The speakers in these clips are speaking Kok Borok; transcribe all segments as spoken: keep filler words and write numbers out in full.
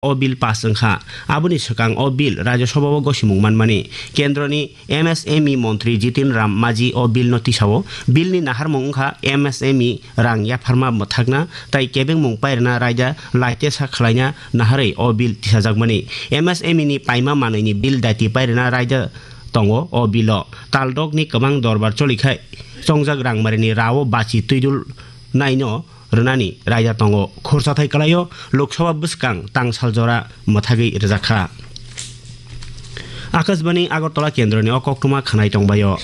o bill pass wngkha. Aboni swkang o bill Rajya Sabha o gosimung manmani. Kendroni M S M E montri Jitin Ram Maji o bill no tisao. Bill ni naharmung wngkha M S M E rang yapharma mwthakna tai kebengmung pairwna raida laitesa khwlaina naharwi o bill tisajakmani. M S M E ni paima manwini bill daiti pairwna raida tongo o bill o. Taldok ni kwbang dorbar cholikhai chongjak rangmarini rao bachi twidul naino rwnani raida tongo. Khorsa thai kwlaio Lok Sabha bwskang tangsal jora mwthagwi rwjakha. Akashbani Agartala kendroni o koktwma khwnai tongbaio.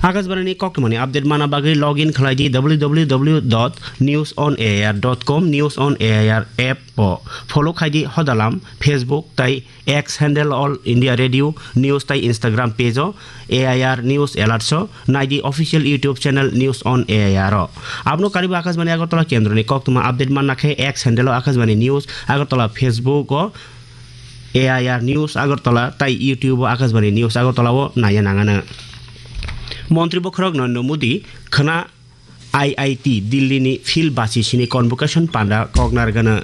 Akashbani ni koktwmani update mana bagwi log in khlai di w w w dot news on a i r dot com, News on A I R app o follow khai di hodalam Facebook tai X handle All India Radio News tai Instagram page o A I R News Alerts o nai di official YouTube channel News on A I R o. Abno karibo Akashbani Agartala kendroni koktwma update manna khe X handle o Akashbani News Agartala, Facebook o A I R News Agartala tai YouTube o Akashbani News Agartala o naiya nangano. Montri bokhorok Narendra Modi khwna I I T Delhi ni field bachi sini convocation panda kok nargana.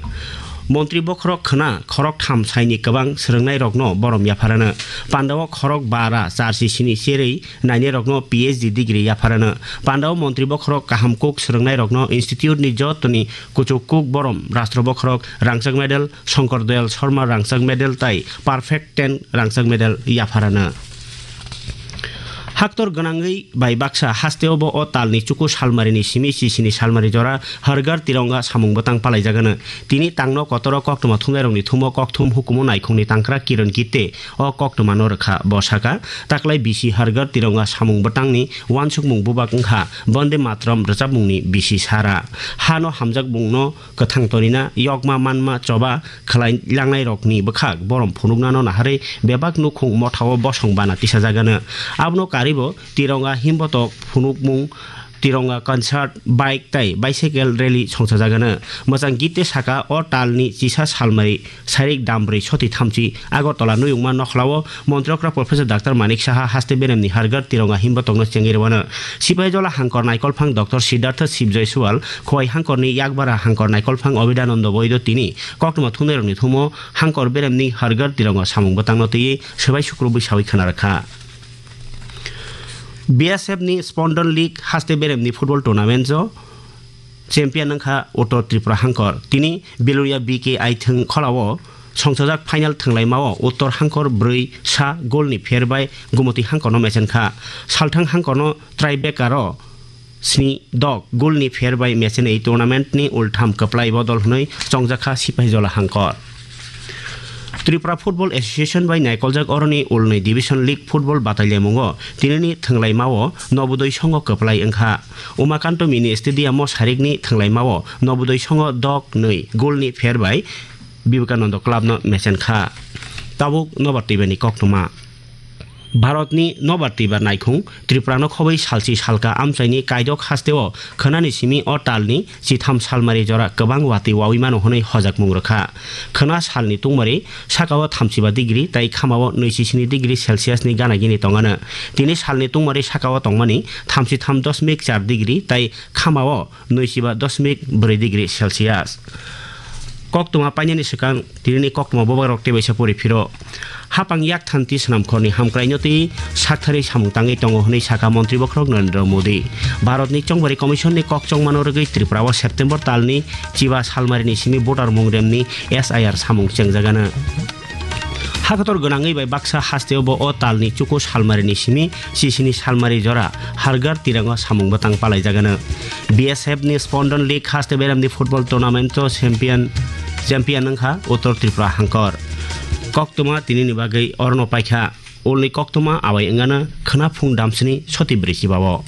Montri bokhorok khwna khorok tham saini kwbang swrwngnairokno borom yapharano. Pandao khorok bara charsi sini cherwi nainairokno P H D degree yapharano. Pandao montri bokhorok kaham kuk swrwngnairokno institute ni jotoni kuchuk kuk borom Rashtra bokhorok rangchak medal, Shankar Dayal Sharma rangchak medal tai Perfect ten rangchak medal yapharano. Haktor gwnangwi bai baksa hasteo bo o talni chuku salmarini simi chisini salmari jora Har Ghar Tironga samung bwtang palaijagano. Tini tangno kotoro koktwma thumnairokni thumo kokthum hukumu naikhungni tangkra Kiran Gitte o koktwmano rwkha. Bo saka, taklai bisi Har Ghar Tironga samung bwtangni uansukmung bubak wngkha Vande Mataram rwchapmungni bisi sara. Hano hamjakmungno kwthang tonina, yokma manma choba khwlai langnairokni bwkhak borom phunuknano naharwi bebak nukhung mothao bosong bana tisajagano. Abono karibo Tironga himbotok phunukmung, Tironga concert, bike tai bicycle rally songchajagano. Mwchang Gitte saka o talni chisa salmari sairik dambrwi soti thamchi Agartala nuyungma nokhlao Montri okra Professor Doctor Manik Saha haste beremni Har Ghar Tironga himbo tongno chengwi rwano. Sipahijola hangkor naikolphang Doctor Siddhartha Sibjoy Sual, Khowai hangkorni yakbara hangkor naikolphang Abhidananda Boido tini koktwma thumnairokni thumo hangkor beremni Har Ghar Tironga samung bwtangno twiwi swbai sukrubwi sawi khwna rwkha. B S F ni Spondon League haste beremni football tournament o champion wngkha Uttor Tripura hangkor. Tini Biloria B K I thwng kholao songchajak final thwnglaimao Uttor hangkor brwi sa goal ni pher bai Gumoti hangkorno mechenkha. Salthang hangkorno tiebreaker o sni dok goal ni pher bai mechenwi tournament ni ultham kwplai bodol hwnwi chongjakha Sipahijola hangkor. Tripura Football Association bai naikoljak oroni ulnwi Division League football batailamungo tinini thwnglaimao Nobodoi songo kwplai wngkha. Umakanto Mini Stadium o sarikni thwnglaimao Nobodoi songo dok nwi goal ni pher bai Vivekananda Club no mechenkha. Tabuk nobar twibani koktwma. Bharatni nobar twibar naikhung Tripurano khobwi salchi salka amchaini kaidok hasteo khwnani simi o talni chitham salmari jora kwbang watwi wawi mano hwnwi hojakmung rwkha. Khwna salni tungmari sakao thamchiba degree tai khamao nwichi sini degree Celsius ni gana gini tongano. Tini salni tungmari sakao tongmani thamchi tham dosmik char degree tai khamao nwichiba dosmik bwrwi degree Celsius. Koktwma painani swkang tinini koktwma bobagrok tebaisa pori phiro. Hapang yak thanti swnamkhorni hamkraino twi saktharwi samung tangwi tongo hwnwi sakha Montri bokhorok Narendra Modi. Bharatni Chongbari Commission ni kok chongmano rwgwi Tripura o September talni chiba salmarini simi voter mung remni S I R samung chengjagano. Hakhator gwnangwi bai baksa hasteo bo o talni chuku salmarini simi chisini salmari jora Har Ghar Tironga samung bwtang palaijagano. B S F ni Spondon League haste beremni football tournament o champion, champion wngkha Uttor Tripura hangkor. Koktwma tinini bagwi orono paikha. Ulni koktwma abai wngano khwna phung damsini soti brwi chibao.